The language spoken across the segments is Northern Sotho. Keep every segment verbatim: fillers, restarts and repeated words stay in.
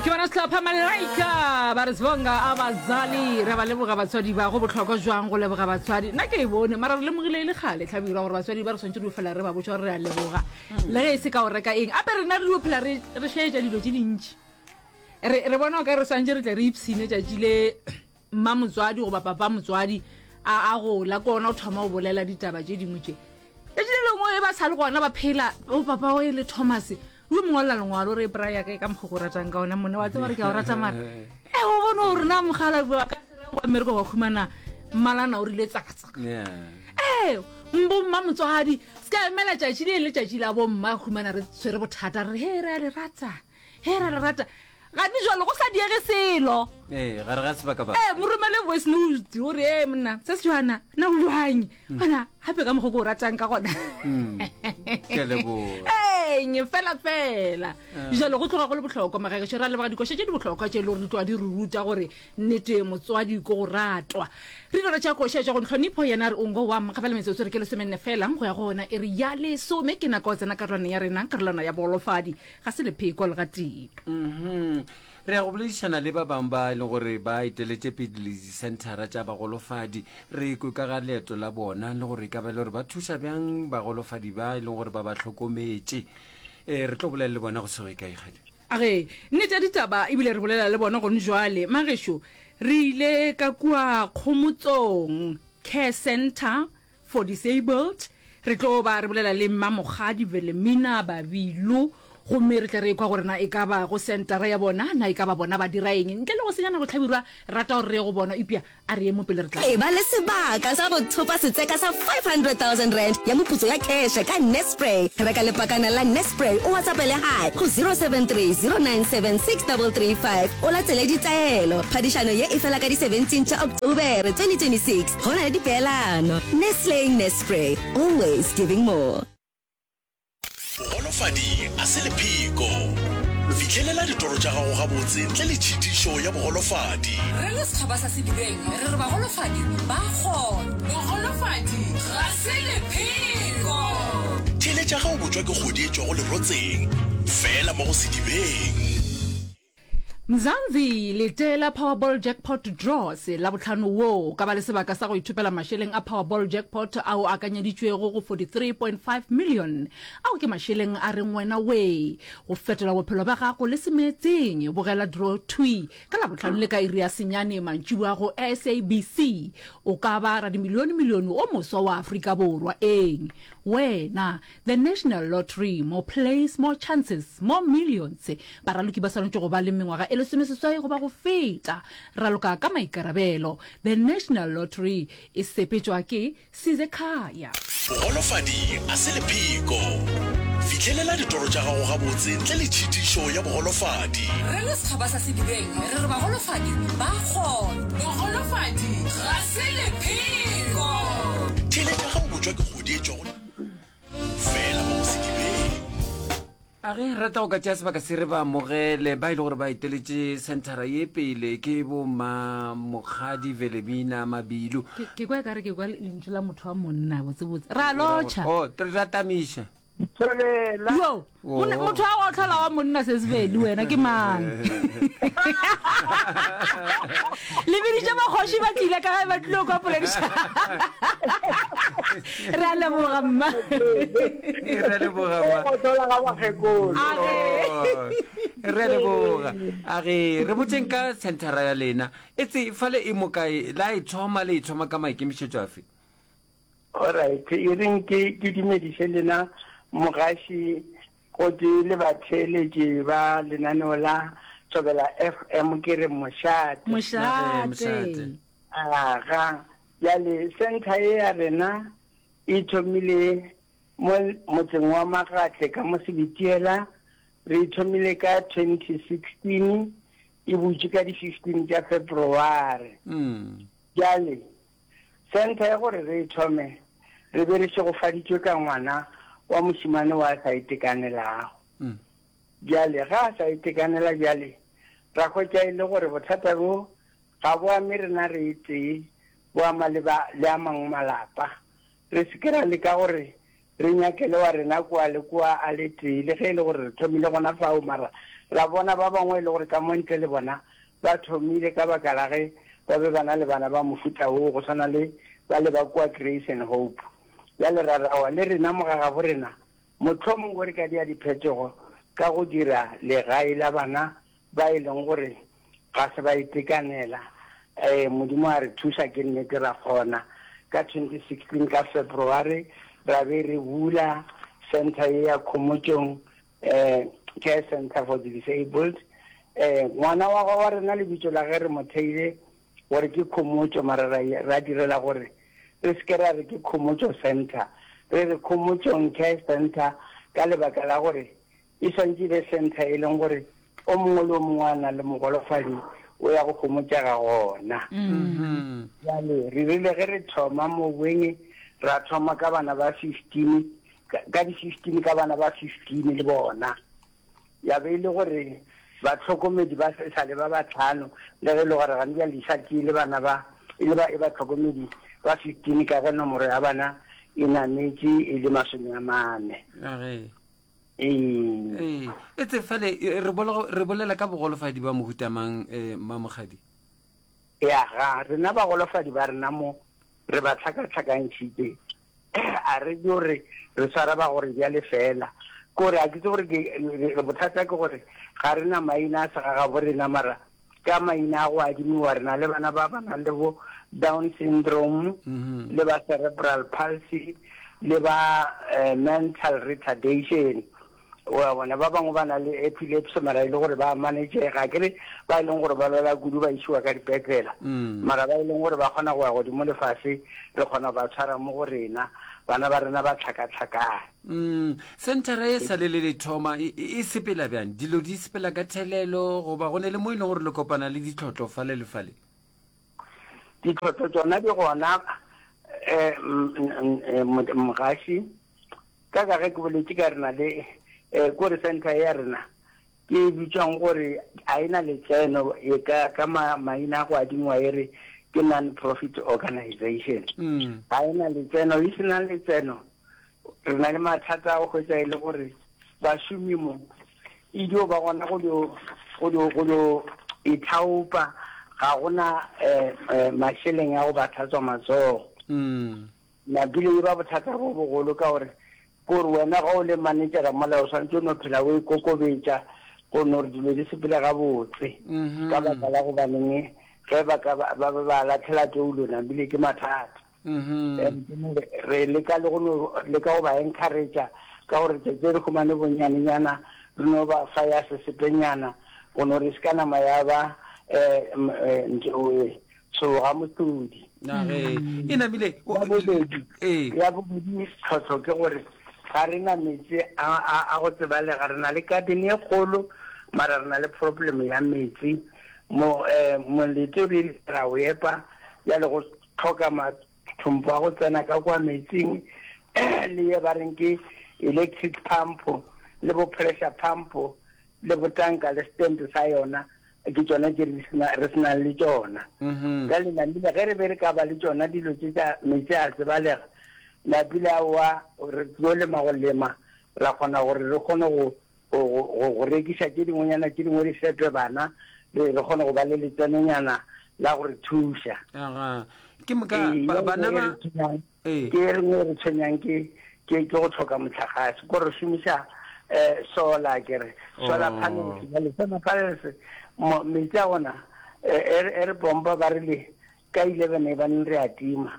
Ke bona sehlopha Malaika ba re Sibonga abazali. Re ba leboga batswadi ba go bohlokwa jwang go leboga batswadi. Nna ke e bone mara re lemogile e le kgale hlabirwa gore batswadi ba re swantše re fela re ba botša gore re a leboga. Le ge e se ka go reka eng. Ape rena re dio phela re re šetša dilo tše dintši. Re re bona o ka re swantše re tle re ipshine tšatši le mma motswadi goba papa motswadi a a gola ke ona o thoma go bolela ditaba tše dingwe tše. Tšatši le lengwe e ba sa le gona ba phela o papa o e le Thomas o mongwalela lengwalo re braya ka ka mokgwa o ratang ka ona monna wa tseba re ke a o rata mara e o bone gore na mogala wa ka wa mmereko wa khumana mmalana o rile tsakatsaka Yeah. ee mbo mma motswadi se ka emela tšatši le le tšatši la bomma khumana re tshwere bothata re he re a le rata he re a le rata gane jalo go sa diege selo Ee, gare ga sebaka ba. ee mo romele voice note o re ee monna se se jwana nna o jwang gona gape ka mokgwa ke o ratang ka gona Ke a leboga. eng fela fela jalo go tloga go le bohlokwa magagešo ra leboga dikoša tše di bohlokwa tše e le gore di tloga di re ruta gore nnete motswadi ko go ratwa re dira tša koša tša go ntlhonipho yena re ongo wa gafela metsotso re ke lesomenne fela go ya go ona e re ya lesome ke nako ya tsena karolwana ya rena karolwana ya bogolofadi ga se lepheko le gatee Mhm. Re ya go boledišana le ba bangwe ba e leng gore ba eteletše pele disenthara tša bagolofadi re kwe ka ga leeto la bona le gore e ka ba e le gore ba thuša bjang bagolofadi ba e leng gore ba ba hlokometše um re tlo bolela le bona go se go ye kae kgadi age nnete ya ditaba ebile re bolela le bona gone jwale magešo re ile ka kua kgomotsong care center for disabled re tlo ba re bolela le mmamokgadi Velemina Babilo gomme re tle re kwa gore na e ka ba go centera ya bona na e ka ba bona ba dira eng ntle le go senyana go tlhabirwa re rata gore re ye go bona epia a re ye mo pele re tla E ba le sebaka sa go thopa setseka sa five hundred thousand rand ya moputso ya cash ka Nespray. Reka lepakana la Nespray o WhatsAppele hi go zero seven three zero nine seven six double three five o latele ditaelo. Phadišano ye e fela ka di seventeen tša October twenty twenty six. Go na le dipeelano. Nestle Nespray, always giving more. Bogolofadi a se lepheko. Fihlelela ditoro tša gago gabotse ntle le tšhitišo ya bogolofadi. Re le setšhaba sa Sedibeng re re bagolofadi ba kgona. Bogolofadi ga se lepheko. Theeletša ge o botšwa ke kgodi e tšwago lerotseng fela mo go Sedibeng. Mzansi letela Powerball Jackpot Draws Labohlano wo o ka ba le sebaka sa go ithopela mašeleng a Powerball Jackpot ao a akanyeditšwego go forty-three point five million. Ao ke mašeleng a reng wena wee go fetola bophelo bja gago le semeetseng. Bogela draw thwi ka Labohlano le ka iri ya senyane mantšiboa go S A B C. O ka ba radimilionemilione o moswa wa Afrika Borwa. Eng? Wena. The National Lottery, more plays, more chances, more millions. Baraloki ba swanetše go ba le mengwaga e lesomeseswai goba go feta. Raloka ka maikarabelo. The National Lottery e sepetšwa ke Sizekhaya. Bogolofadi a se lepheko. Fihlelela ditoro tša gago gabotse ntle le tšhitišo ya bogolofadi. Re le setšhaba sa Sedibeng re re bagolofadi ba kgona. Bogolofadi ga se lepheko. Theeletša ge o botšwa ke kgodi e tšwago fela mo go Sedibeng. A ge rata go ka tšea sebaka se re ba amogele ba e le gore ba eteletše senthara ye pele ke bo Mamokgadi Velemina Mabilu. Ke ke kwa ekare ke kwa lentšu la motho wa monna botsebotse. Ra lotšha. Oh, re ratamiša. Thobela. Yo, monna- motho wa go tlhola wa monna Sesibedi wena ke mang? Le biditše bakgoši ba tlile ka gae ba tlilo kwa poledišano. Re a leboga mma. Re a leboga mma. Go tlhola ga bakgekolo. Re a leboga. A re re botšeng ka senthara ya lena. E tse fale e mo kae? La e thoma le e thoma ka maikemišetšo afe? Alright, e reng ke ke dumediše lena mogaši gotee le batheeletši ba lenaneo la Thobela F M ke re mošate. Mošate. Aga, bjale centre ye ya rena e thomile mo motseng wa Magatle ka mo Sebitiela, re e thomile ka twenty sixteen, e butše ka di fifteen tša February. Bjale Centre ya gore re e thome, re be re šegofaditšwe ka ngwana wa mošemane wa a sa itekanelago. Bjale, ge a sa itekanela bjale, ra hwetša e le gore bothata bjo ga bo ame rena re e tee, bo ama le ba, le a mangwe malapa. Re se ke ra leka gore re nyakele wa rena kua le kua a le tee, le ge e le gore re thomile gona fao, mara Ra bona ba bangwe e le gore ka mo ntle le bona ba thomile ka baka la ge ba be ba na le bana ba mohuta woo, go swana le bale ba kua Grace and Hope. Bjale ra re, Aowa, le rena mo ga gabo rena, mohlomongwe re ka dia diphetogo ka go dira legae la bana ba e leng gore ga se ba itekanela. Ee, Modimo a re thuša, ke nnete ra kgona. Ka twenty sixteen ka February ra be re bula centre ye ya Khomotšong eh, Care Centre for the Disabled. Eh, ngwana wa wa rena lebitso la ge re mo theile gore ke Khomotšo, mara ra, ra direla gore re se ke ra re ke Khomotšo Centre, re re Khomotšong Care Centre ka lebaka la gore e swantše e be centre e leng gore o mongwe le o mongwe a nang le mogolofadi o ya go homotšega gona. Bjale re rile ge re thoma mo boeng ra thoma ka bana ba fifteen, ka di fifteen, ka bana ba fifteen le bona. Ya be e le gore bahlokomedi ba sa le ba bahlano, le ge e le gore gane bjale di sa tšee le bana ba, e le ba e bahlokomedi ba fifteen ka ge nomoro ya bana e nametše e le masome a mane. Ee. Ee, e tse fale re bolela, re bolela ka bogolofadi ba mohuta mang, eh, Mmamokgadi? Ya ga, rena bagolofadi ba rena mo re ba hlakahlakantšhitše. A re dio re re swara ba gore bjale fela. Ke gore a ke tsebe gore ke, bothata ke gore ga re na maina a segagabo rena, mara ka maina a go adimiwa re na le bana ba ba nang le bo Down syndrome, le ba cerebral palsy, le ba eh, mental retardation. Wa bona, ba bangwe ba na le epilepsy mara e le gore ba managega, ke re ba e leng gore ba lwala kudu ba isiwa ka dipetlela, mara ba e leng gore ba kgona go ya godimo le fase re kgona go ba tshwara mo go rena, bana ba rena ba tlhakatlhakane. Mm, senthara e sa le le le thoma e, e sepela bjang? Dilo di sepela ka thelelo goba go ne le mo e leng gore le kopana le ditlhotlo fale le fale? Ditlhotlo tšona di gona, um mogaši, ka ka ge ke boletše ka re na le um kore center ya rena ke e bitšwang gore a e na letseno, e ka ka maina a go adingwa e re ke non-profit organization. Ga e na letseno, e se na letseno re na le mathata a go hwetša e le gore bašomi mo e dio ba gona go dio go dio go dio ithaopa, ga gona um mašeleng a go ba tlhatswa matsogo. Napile e ba bothata bo bogolo ka gore kore wena ga o le manejara mola o swanetše o no phela o ikokobetša go no re dilo di sepele gabotse, ka baka la gobaneng ge ba ka ba ba ba latlhela toulo napile ke mathata. Re leka le go no leka go ba encourage-a ka gore tšatši re humane bonyanenyana re no ba fa ya sesepenyana go no re se ka nama ya ba um ntho tshoga mohlodi. Nage e namile Ya bobedi, ee ya bobedi tlhohlo ke gore ga re na meetse a, a, a go tsebalega. Re na le garden ye kgolo, mara re na le problem ya meetse. Mo, eh, molete re ile ra o epa, bjale go hloka mathompo a go tsena ka kwa meetseng, le ye ba reng ke electric pump, le bo pressure pump, le botanka le stand sa yona, ke tšona tše re sena, re se nang le tšona. Bjale namile ge re be re ka ba le tšona dilo tše tša meetse a tsebalega, napile aowa re tlo lema go lema, ra kgona gore re kgone go, go, go, go rekiša tše dingwenyana, tše dingwe di fepe bana, re, re kgone go ba le letsenonyana la go re thuša. Aga. Ke moka Ee, ba, ye bana nngwe e ba re tshwenyang, ee ke e nngwe e re tshwenyang ke, ke, ke go hloka mohlagase, ko re šomiša eh, solar, ke re solar oh panels. Bjale solar panels mo meetse a gona eh, e re e re pompa ba rile ka eleven e baneng re a tima,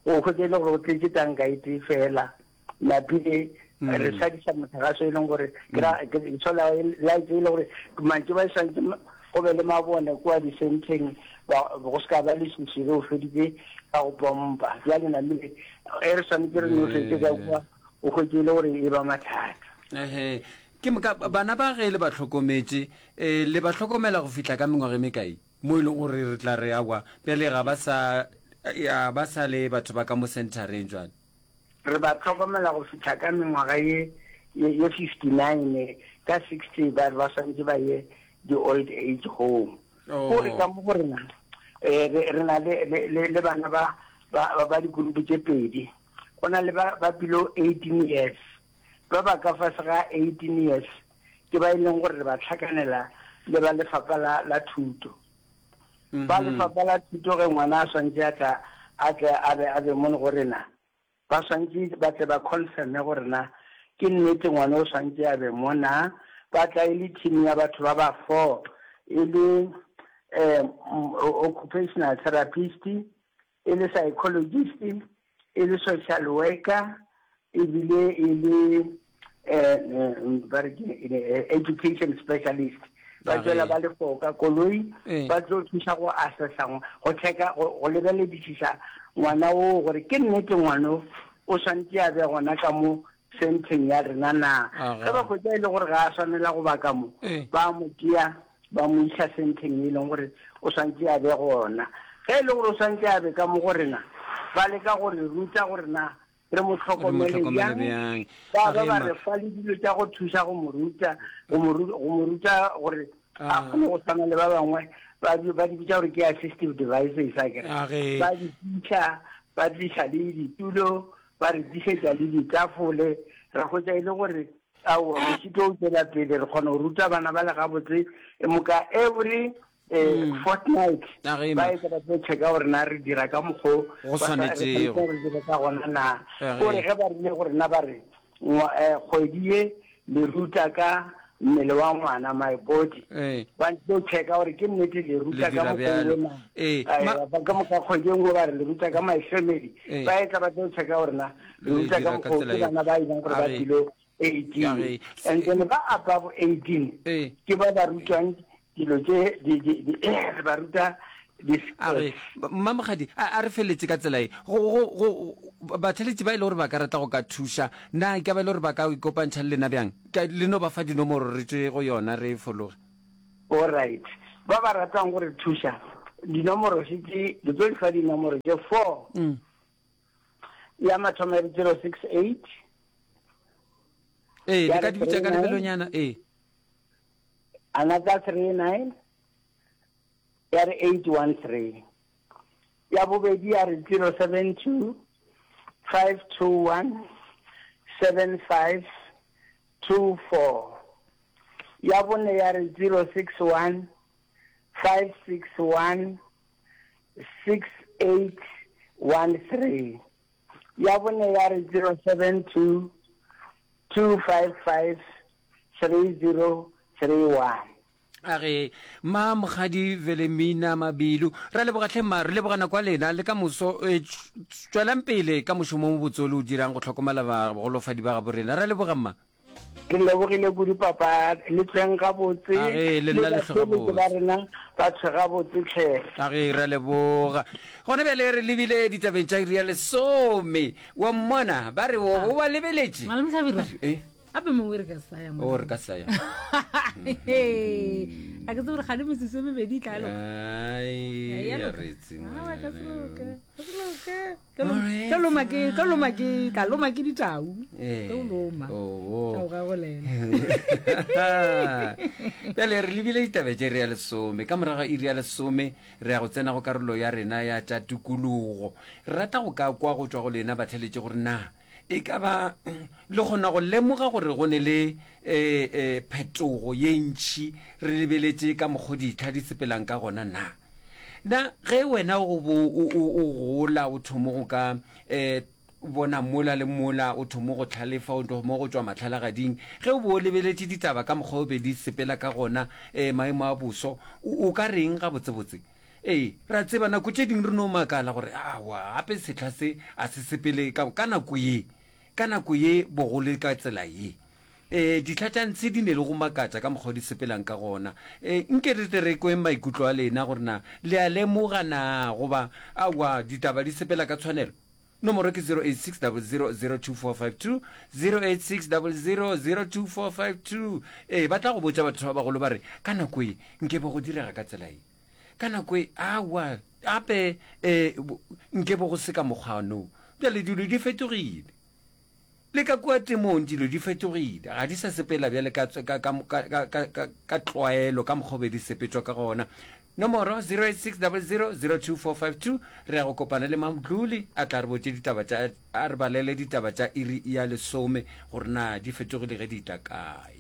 o hwetša e le gore o tletše tanka e tee fela, napile re mm šadiša mohlagase e leng gore ke ra mm ke solar light e le gore mantši ba e swantše go be le mabone kua di-centeng, ba go se ka ba leswiswi ge o feditše ka go pompa. Bjale namile e re swanetše re nošetše ka ee kua, o hwetše e le gore e ba mathata. Ehe. Ke moka bana ba ge le ba hlokometše, eh, le ba hlokomela go fihla ka mengwaga e mekae mo e leng gore re tla re awa bjale ga ba sa ya ba sa le batho ba ka mo centereng jwale? Re ba hlokomela go fihla ka mengwaga ye ye ye fifty-nine, ka sixty ba re ba swanetše ba ye di-old age home. Ko re ka Oh. mo go rena eh, re re na le le le le bana ba ba ba dikurupu tše pedi. Go na le ba ba below eighteen years, ba ba ka fase ga eighteen years ke ba e leng gore re ba tlhakanela le ba lefapha la, la thuto. Ba lefapha la thuto ge ngwana a swantše a tla a tle a be a be mono go rena, ba swantše ba tle ba confirme gore na ke nnete ngwana o swantše a be mo na. Ba tla e le team ya batho ba ba four, e le um occupational therapist, e le psychologist, e le social worker, ebile e le um ba re ke education specialist. Ba tšwela ba le four ka koloi, ba tlo thuša go assessa, go checka, go lebeledišiša ngwana oo gore ke nnete ngwana o o swantše a be gona ka mo centeng ya rena na. Ge ba hwetša e le gore ga a swanela go ba ka mo, ba mo tšea ba mo iša centeng e leng gore o swantše a be gona. Ge e le gore o swantše a be ka mo go rena, ba leka go re ruta gore na re mo hlokomele bjang. Ba ba ba re fa le dilo tša go thuša go mo ruta, go mo go mo ruta gore a kgone go tshwana le ba bangwe. Ba ba di bitša gore ke assistive devices, akere. Ba di tliša, ba tliša le ditulo, ba re tlišetša le ditafole. Ra hwetša e le gore aowa, mošito o tšwela pele, re kgona go ruta bana ba le gabotse. E moka every eh, fortnight ba etla ba tlo checka gore na re dira ka mokgo go swanetšego re dira ka gona na. Gore ge ba rile gore na ba re kgwedi ye le ruta ka mmele wa ngwana, my body, ba tlo checka gore ke nnete le ruta ka mokgwa na. Ka moka kgwedi e nngwe ba re le ruta ka my family, ba etla ba tlo checka gore na le ruta ka mokgwa ke bana ba e leng gore ba below eighteen. And then ba above eighteen ke ba ba rutwang dilo tše di di di re ba ruta A re, Mmamokgadi, a, a re feletše ka tsela ye. Go, go, go, batheeletši ba e le gore ba ka rata go ka thuša, na e ka ba e le gore ba ka ikopantšha le lena bjang? Ka, le no ba fa dinomoro re tšwe go yona re fologe. All right. Ba ba ratang go re thuša, dinomoro še tše, ke tlo le fa dinomoro tše four. Mm. Ya mathomo ya re zero six eight. Ee, Ya le ka re di bitša three ka nine. lebelonyana, ee. Another three nine. Ya re eight one three. Ya bobedi ya re zero seven two, five two one, seven five two four. Ya bone ya re zero six one, five six one, six eight one three. Ya bone ya re zero seven two, two five five, three zero three one. A re, Ma Mokgadi Velemina Mabilu, ra leboga hle mma, re leboga nako ya lena le ka moso. E, tšwelang pele ka mošomo o mobotse o le o dirang go hlokomela bagolofadi ba gabo rena. Ra leboga mma. Re lebogile kudu papa, le tlweng gabotse, A ge, le le nna le hlwe batheeletši ba gabotse. rena ba tshwe gabotse hle. A ge, ra leboga. Gona bjale re lebile ditabeng tša iri ya lesome. Wa mmona, ba re o, o ba lebeletše. Malome Hlabirwa. E? Gape mongwe re ka sa ya O re ka sa ya. A ke tsebe gore gane metsotso e mebedi e tla loka. Ai, Ya ya loka. re tseng. Ah, ka se loke. Ka se loke. Tlo loma ke, tlo loma ke, tla loma ke ditau. Eh. Tlo loma. Oh, oh. Tau ga go lena. Bjale re lebile ditaba tše iri ya lesome. Ka morago ga iri ya lesome re ya go tsena go karolo ya rena ya tša tikologo. Re rata go ka kwa go tšwa go lena batheeletši gore na e ka ba le kgona go lemoga gore go ne le eh, eh, phetogo ye ntši re lebeletše ka mokgo ditlha di sepelang ka gona na. Na ge wena o bo o, o, o gola o thomo go ka eh, bona mola le mola, o thomo go tlhalefa, o thomo go tšwa mahlalagading, ge o bo o lebeletše ditaba ka mokgwa o be di sepela ka gona, eh, maemo a boso, o, o ka reng gabotsebotse? Ee, ra tseba nako tše dingwe re no makala gore aowa gape sehla se a se sepele ka, ka nako ye, ka nako ye bogole ka tsela ye. Ee, dihla tša ntshe di ne le go makatša ka mokgwa o di sepelang ka gona. Ee, nke re tle re kweng maikutlo a lena gore na le a lemoga na goba aowa ditaba di sepela ka tshwanelo. Nomoro ke zero eight six double zero zero two four five two, zero eight six double zero zero two four five two. Ee, ba tla go botša batho ba bagolo ba re ka nako ye nke be go direga ka tsela ye. Ka nako e, aowa, gape, eh, nke bo go se ka mokgwa no. Bjale dilo di fetogile. Le ka kua temong dilo di fetogile. Ga di sa sepela bjale ka, ka, ka, ka, ka, ka, ka, ka tlwaelo, ka mokgwa o be di sepetšwa ka gona. Nomoro zero eight six double zero zero two four five two. Re ya go kopana le Mamdluli, a tla re botše ditaba tša, a re balele ditaba tša iri ya lesome gore na di fetogile ge di tla kae.